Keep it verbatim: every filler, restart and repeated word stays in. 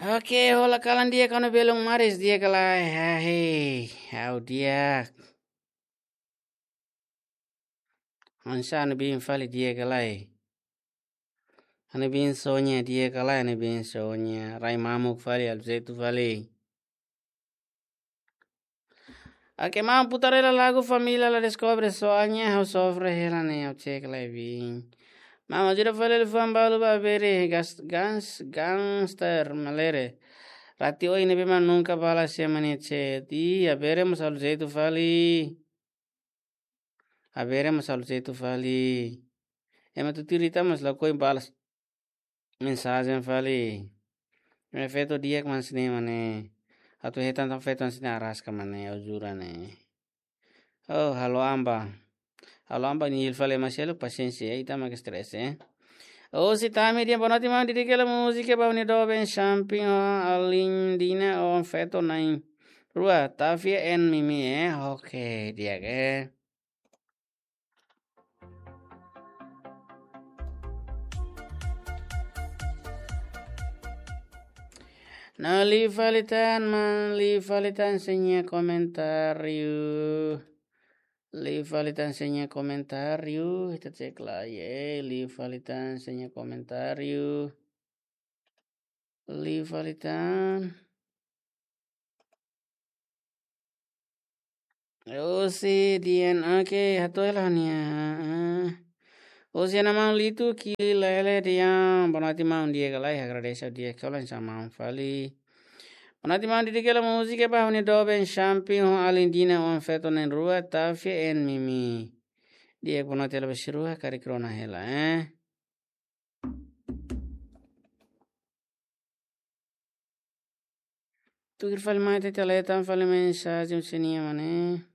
Oke, hola kalan di'ak, ha'u-nia belun maris di'ak ka lae? Hahe, ha'u di'ak. Hanesan ha'u-nia biin fali di'ak ka lae? Ha'u-nia biin Sonia di'ak ka lae? Ha'u-nia biin Sonia, rai mamuk fali, halo jeitu fali. Oke, maun, putar hela lagu Família La Descobre, Soalnya Ha'u Sofre Hela ne'e, ha'u cek lai biin. Maun, ajuda fali liafuan balu ba Abere, gas-, gans-, gangster, malere. Rati oin ne'ebé mak nunka balas ema nia chat. Ih, Abere mós halo jeitu fali. Abere mós halo jeitu fali. Ema tutuir ita mós lakohi balas mensajen fali. Ema feto di'ak mak hanesan ne'e mak ne'e. Atu hetan tan feto hanesan ne'e araska mak ne'e, ha'u jura ne'e. Oh, halo amba. Halo amba nia hili fali ema seluk, pasiénsia, ita mak stress, eh. Oh, si tami dia bonoti maun, dedika hela múzika ba ha'u-nia doben Champing ho alin Dina, oan-feto na'in-rua, Tavia and Mimi, eh. Oke, di'ak, eh. No, liu fali tan, maun, liu fali tan sira-nia komentáriu. Liu fali tan sira-nia komentáriu. Ita cek lai, eh. Liu fali tan sira-nia komentáriu. Liu fali tan. Husi Dian, oke, hato'o hela nia. Husi Ana Maun Litu, Kili Lele Dian. Bonoti maun, di'ak ka lae? Agradese, di'ak ka lae, hanesan maun fali. Bonoti maun, dedika hela múzika ba ha'u-nia doben Champing ho alin Dina, oan-feto na'in-rua, Tavia and Mimi. Di'ak, bonoti hela ba sira rua, karik rona hela, eh. Tuir fali mai, ita lee tan fali mensajen sira-nia mak ne'e.